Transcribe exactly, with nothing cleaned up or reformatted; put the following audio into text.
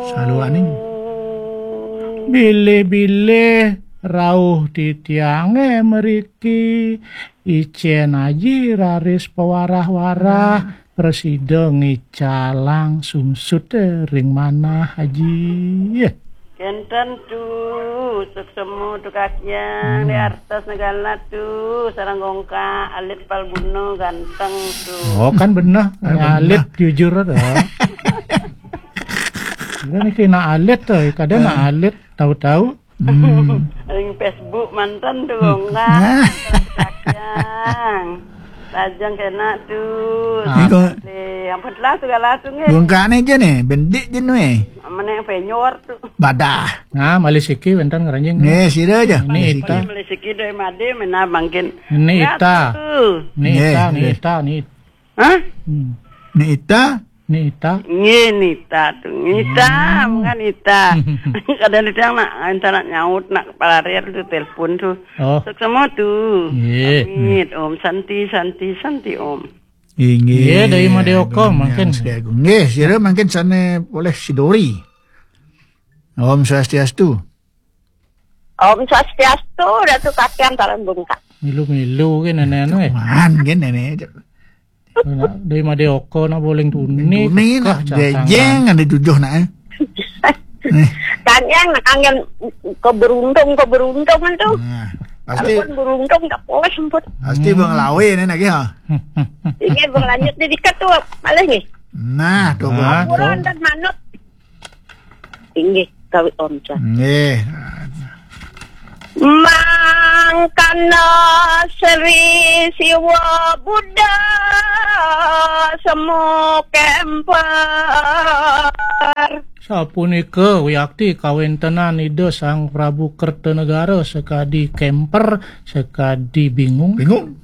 Saluaning. Bilih-bilih rauh titiange mriki, icen aji raris pawarah-warah, prasida ngicalang sumsut ring manah aji. Kenten tu, suksema tu kakiang, Hmm. di artas negala tu, sareng gongkak, alit palguna, ganteng tu. Oh, kan bener. Ah, bener. Alit jujur ada. Kan niki nak alit tu, kadang nak Ah. alit, tahu-tahu. Hmm. Ring Facebook mantan tu, Hmm. gongkak. Nah. Kakiang. Lajeng kena tu. Ah. Iko. Ampun lah segala tu nggih. Gongkakne je ne, bendik je ne. Meneh penyor tu. Badah. Nah, malih siki wenten ngranjing. Nggih, sira aja. Ini Malih siki. Ita. Malih siki doi made menah mangkin. Ini Ya, Ita. tu. Ini Nggih, Ita, ini nggih. Ita, ini. Hah? Hmm. Ini Ita. Ini Ita. Nggih, Nita tu. Nita, Hmm. bukan Nita. Kadang Nita nak, entah nak nyaut, nak kepala rel tu, telepon tu. Oh. Suksema tu. Nggih. Amit, Om. Santi, Santi, Santi, Om. Inggih. Nggih, dari Madé Oko, Agung mangkin. Hyang Sri Agung. Nggih, sira mangkin sane oleh Sidori. Om Swastiastu. Om Swastiastu, Ratu Kakiang Talang Bungkak. Milu-milu ke nenek anu, eh. Man, ke nenek. Nak, dari Madé Oko nak boling tuni, Tuni pekah nak, jejeng cangkang. Ada tujuh nak, eh. Eh. Kakiang nak angin keberuntung, keberuntungan tu. Nah, pasti Ampun beruntung tak boleh semput. Pasti Hmm. Bang Lawe ni nak, ya. Ini berlanjut di dikat tu, malah ni. Nah, tu, Nah, Bang. Ampun tu. Dan manut. Inggih, kawit Om Swastiastu. Nggih. Mangkana Sri Siwa Buddha semu kemper. Sapunika wiakti kawentenan Ida Sang Prabu Kertanegara sakadi kemper, sakadi bingung. Bingung.